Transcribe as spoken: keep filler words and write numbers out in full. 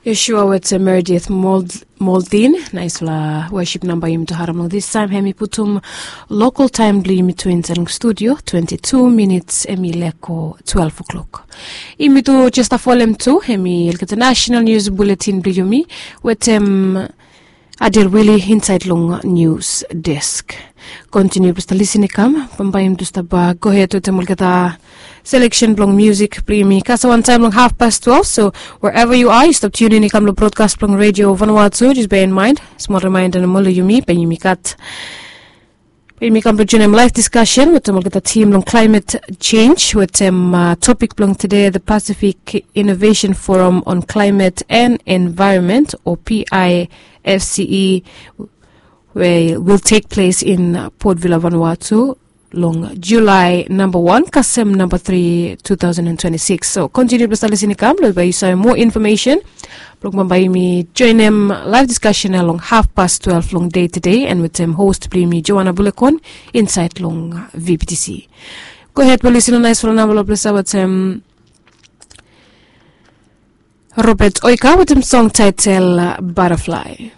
Yeshua wetem Meredith Moldin. Naisfala worship namba yumi tu harim long this time. Hem i putum local time blong yumi tu inside long studio. Twenty-two minutes, hem i leko twelve o'clock. Yumi tu just a folem tu, hem i olgeta national news bulletin blong yumi wetem Adel Willie inside long news desk. Continue blong stap lisin i kam, bambae yumi tu stap go ahead wetem olgeta selection blong music blong yumi kasem wantaem long half past twelve. So wherever you are, you stop tune in i kam long broadcast blong radio Vanuatu. Just bear in mind, small reminder nomo long yumi, be yumi gat, be yumi kam blong joinim live discussion wetem olgeta team long climate change wetem uh, topic blong today, the Pacific Innovation Forum on Climate and Environment, or P I F C E, we will take place in Port Vila, Vanuatu long July namba wan kasem namba tri, two thousand and twenty-six. So continue blong stap lisin i kam long bae yu save more information blong bambae yumi joinim live discussion ya long half past twelve long day today, and wetem host blong yumi Joanna Bulekon inside long V B T C. Go ahead blong lisin long naisfala namba long ples ya wetem Robert Oika wetem song title Butterfly.